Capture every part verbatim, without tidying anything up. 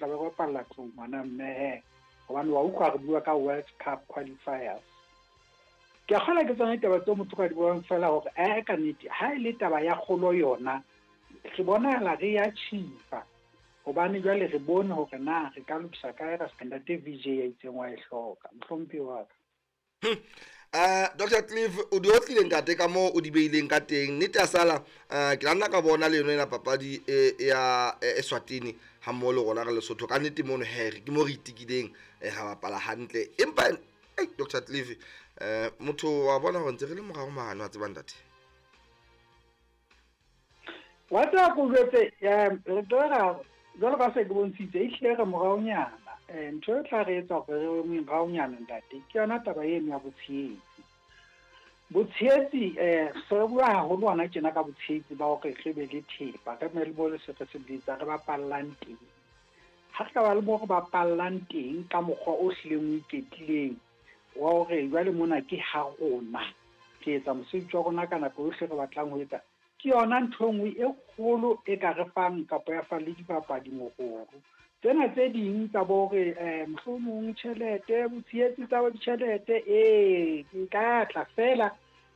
tla be re bapalla tlung ngwana mme hobane wa utlwa re bua ka World Cup qualifiers. Ke a kgolwa ke tsona ditaba tseo motho ka di buang fela hore eh ka nnete ha e le taba ya kgolo yona re bonahala re ya chipa hobane jwale re bone hore na re ka lokisa kae ra se ntate V J ya itseng wa e hloka mohlomphehi wa ka. Uh, Doctor Cliff o di otlile ntate ka moo o di beileng ka teng nnete ya sala uh, ke la nna ka bona le yona ena papadi e ya Eswatini ha mmoho le rona re Lesotho ka nnete mono he ke mo re itikileng ra bapala hantle empa ei Doctor Cliff eh motho wa bona hore ntse re le morao mane wa tseba ntate wa tseba ko jwetse re tlo jwalo ka se ke bontshitse e hlile re moraonyana eh ntho e tla re etsa hore re moraonyana ntate ke yona taba eno ya botshehetsi botshehetsi eh se re bua haholo hona tjena ka botshehetsi ba hore re be le thepa re be le mo le se re se bitsa re bapallang teng ha re ka ba le mo re bapallang teng ka mokgwa o hlileng o iketlileng wa hore jwale mona ke ha rona re etsa mosebetsi wa rona ka nako yohle re batlang ho etsa ke yona ntho e nngwe e kgolo e ka re fang kapa ya fa le dibapadi mohoro tsena tse ding tsa bo hore eh mohlomong tjhelete botshehetsi tsa ditjhelete ee ke ka tla fela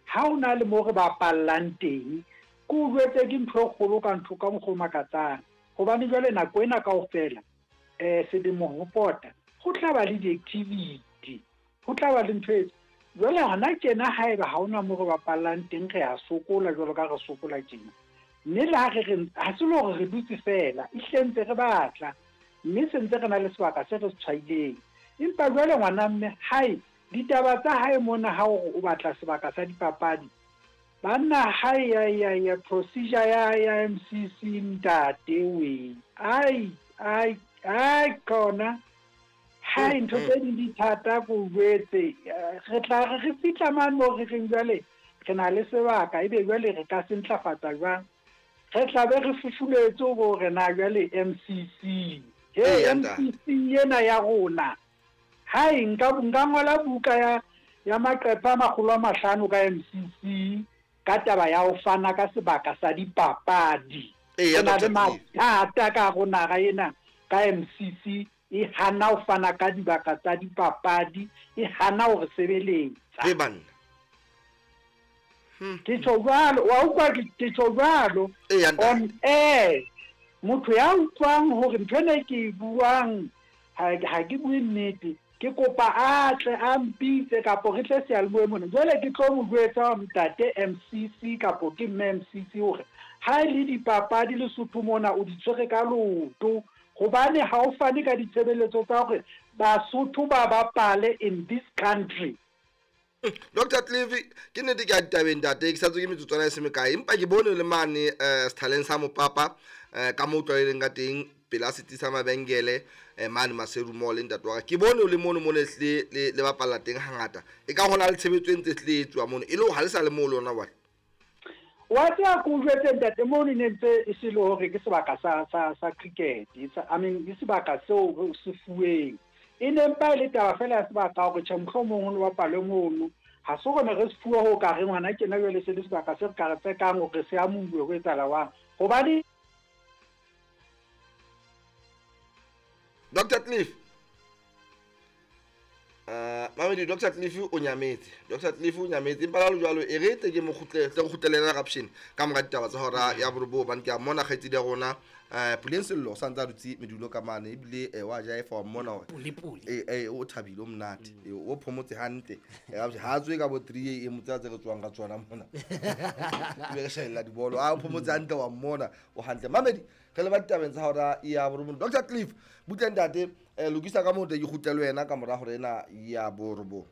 ha o na le mo re bapallang teng ke o jwetse ke ntho e kgolo ka ntho ka mokgwa o makatsang hobane jwale nako ena kaofela eh selemo ho pota ho tla ba le di-activity ho tla ba le ntho e jwale hona tjena haeba ha hona mo re bapallang teng re a sokola jwalo ka re sokola tjena mme le ha re re ha se le hore re dutse fela ehlile ntse re batla mme se ntse re na le sebaka se re se tshwaileng empa jwale ngwana mme hae ditaba tsa hae mona ha o o batla sebaka sa dipapadi banna hae ya ya ya procedure ya ya M C C ntate we ai ai ai kona hai ntho tse ding di thata ko jwetse re tla re re fihla mane mo re reng jwale re na le sebaka ebe jwale re ka se ntlafatsa jwang re tla be re fufuletse hore na jwale M C C he M C C ena ya rona hai nka nka ngola buka ya ya maqephe a makgolo a mahlano ka M C C ka taba ya ho fana ka sebaka sa dipapadi e na le mathata ka rona ga ena ka M C C e hana ho fana ka dibaka tsa dipapadi e hana hore sebeletsa e banna ke tjho jwalo wa utlwa ke tjho jwalo on air motho ya utlwang hore ntho ena ke e buang ha ha ke bue nnete ke kopa a tle a mpitse kapo re tle seyalemoyeng mona jwale ke tlo mo jwetsa ntate M C C kapo ke mme M C C hore ha e le dipapadi Lesotho mona o di tshwere ka leoto hobane ha o fane ka ditshebeletso tsa hore Basotho ba bapale in this country. Doctor Cliff ke nnete ke a ditabeng ntate ke sa tswe ke metsotswana e se mekae empa ke bone le mane eh sethaleng sa mopapa eh ka mo tlwaeleng ka teng pela setsi sa mabenkele eh mane Maseru Mall ntate wa ka ke bone le mono mone le le bapalla teng hangata e ka hona le tshebetso e ntse tle etswa mono e le ha le sa le mo lona wa wa tseba ko jwetse ntate mono ne ntse e se le hore ke sebaka sa sa sa cricket I mean ke sebaka seo se fuweng e ne mpa e le taba fela ya sebaka hore tjhe mohlomong ho lo bapalwe mono ha se hore ne re se fuwe ho ka re ngwana tjena jwale se le sebaka se re ka re tsekang hore se amuwe ho etsahala jwang hobane Doctor Cliff uh mamedi Doctor Cliff o nyametse Doctor Cliff o nyametse empa la jwalo e re tle ke mo kgutle tle re kgutlelela raption ka mora ditaba tsa hora ya borobo bane ke a mona kgaitsedi ya rona eh Puleng Sello sa ntse a dutse medulo ka mane ebile eh wa jaefa wa mmona hore pule pule eh eh o thabile o monate eh o phomotse hantle eh ha tswe ka bo three a m tsa tse re tswang ka tsona mona be re shella dibolo a o phomotse hantle wa mmona o hantle mamedi re le ba ditabeng tsa hora ya borobo Doctor Cliff butle ntate eh lokisa ka mo te ke kgutlele wena ka mora hore ena ya borobo.